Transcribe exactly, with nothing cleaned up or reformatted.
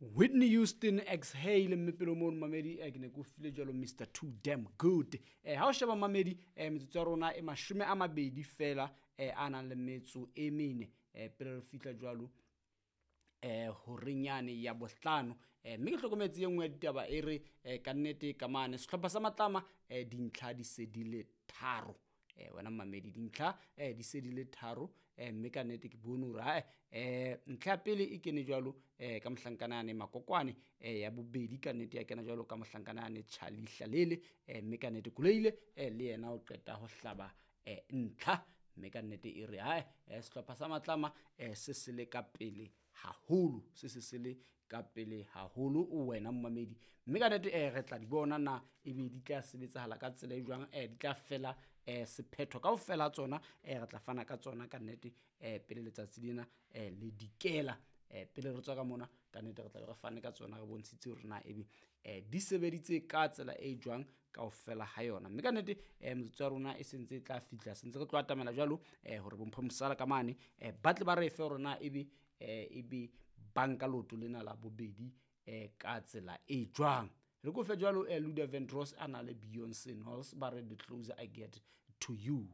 Whitney Houston, "Exhale". Mme pele mono, mamedi, eh, ke ne ke o file jwalo Mister Too Damn Good. eh, ha o sheba, mamedi, eh, metsotso ya rona e mashome a mabedi fela eh, a nang le metso e mene eh, pele re fihla jwalo eh horenyane ya bohlano. eh mme ke hlokometse e nngwe ya ditaba e re eh, ka nnete ka mane sehlopha sa Matlama eh, dintlha di se di le tharo. eh wena mamedi, dintlha eh di se di le tharo. eh mme ka nnete ke bone hore hae eh ntlha ya pele e kene jwalo eh ka mohlankana yane Makokwane, eh ya bobedi ka nnete ya kena jwalo ka mohlankana yane Charlie Hlalele. eh mme ka nnete Kuleile eh le yena o qeta ho hlaba eh ntlha. Mme ka nnete e re hae eh sehlopha sa Matlama eh se se le ka pele haholo, se se se le ka pele haholo, wena mmamedi. Mme ka nnete eh re tla di bona na ebe di tla sebetsahala ka tsela e jwang, eh di tla fela eh sephetho kaofela tsona. eh re tla fana ka tsona ka nnete eh pele letsatsi lena eh le dikela. eh pele re tswa ka mona, ka nnete re tla be re fane ka tsona, re bontshitse hore na ebe eh di sebeditse ka tsela e jwang kaofela ha yona. Mme ka nnete eh metsotso ya rona e sentse e tla fihla, sentse re tlo atamela jwalo eh hore bompho mosala ka mane eh ba tle ba re fe hore na ebe eh ebe banka loto lena la bobedi eh ka tsela e jwang. Re ko fe jwalo eh Luda Vandross a na le Beyonce Knowles, ba re "The Closer I Get to You".